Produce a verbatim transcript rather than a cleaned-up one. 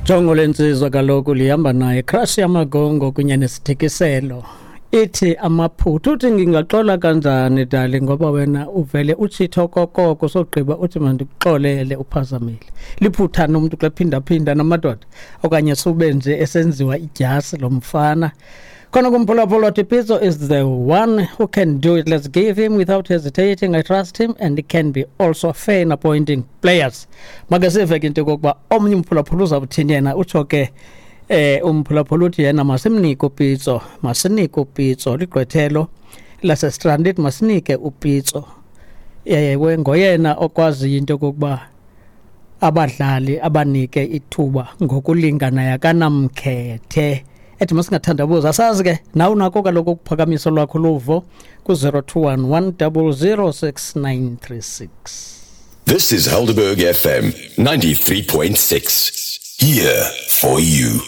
Jongo lensizwa kaloku lihamba naye crush yamagongo kunye nesithikiselo. Ithi amaphutha uthi ngingaxola kanjani dali ngoba wena uvele uchitha kokoko sogqiba uthi mandikuxolele uphazamile. Liphuthana umuntu xa phinda phinda namadoda okanye sube nje esenziwa idyasi lo mfana. Khona kumphulaphula wathi Pitso is the one who can do it. Let's give him without hesitating. I trust him and he can be also fair in appointing players. Make sive ke into yokokuba omnye umphulaphula uzawuthini yena utsho ke eh umphulaphula uthi yena masimnike uPitso, masinike uPitso ligqwethelo laseStranded masinike uPitso. Ewe ngoyena okwaziyo into yokokuba abadlali abanike ithuba ngokulinganayo akanamkhethe. Ethi masingathandabuzi asazi ke nawe unako kaloku ukuphakamisa lwakho luvo ku-zero two one one double zero six nine three six. This is Helderberg F M ninety-three point six. Here for you.